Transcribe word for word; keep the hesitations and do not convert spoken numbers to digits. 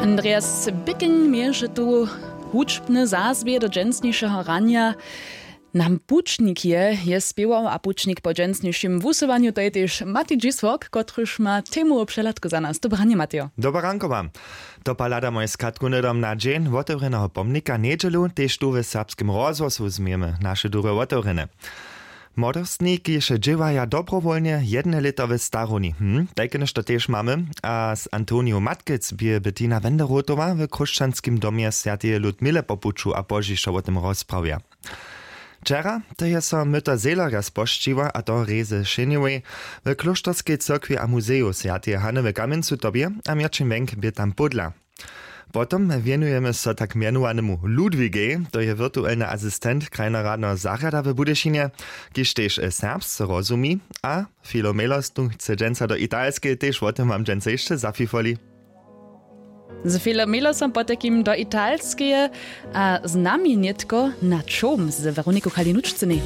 Andreas Bicking měješe tu hudźbny zazwě do dźensnišeho ranja. Nam pućnik je je spěwał a pućnik po dźensnišim wusyłanju to je tež Matej Dźisłok, kotryž ma temowu přehladku za nas. Dobre ranje, Matejo. Dobre ranko wam. To pa hlada moje skatku hnydom na dźeń wotewrjeneho pomnika njedźelu tež tu w serbskim rozhłosu změjemy naše durje wotewrjene. Młodostni kiž dźěłaja dobrowolnje jedne lěto w starowni hm tajke něšto tež mamy. A z antoniju matkec bě bettina wenderotowa w chróšćanskim domje swjateje ludmile po puću a pozdźišo wo tym rozprawja. Wčera to je so myto zejlerja spožčiło a to rězy šenjewej w klóšterskej cyrkwi a muzeju swjateje hany w kamjencu tobje. A měrćin wjenk bě tam pódla. Potom wjenujemy so tak mjenowanemu ludwigej, to je wirtuelny asistent krajnoradneho zarjada w budyšinje, kiž tež serbsce rozumi. A filomelo stun chce dźensa do italskeje tež wo tym wam dźensa hišće zafifoli. Z filomelo som potajkim do italskeje a z nami nětko na čołm z weroniku chalinučcynej.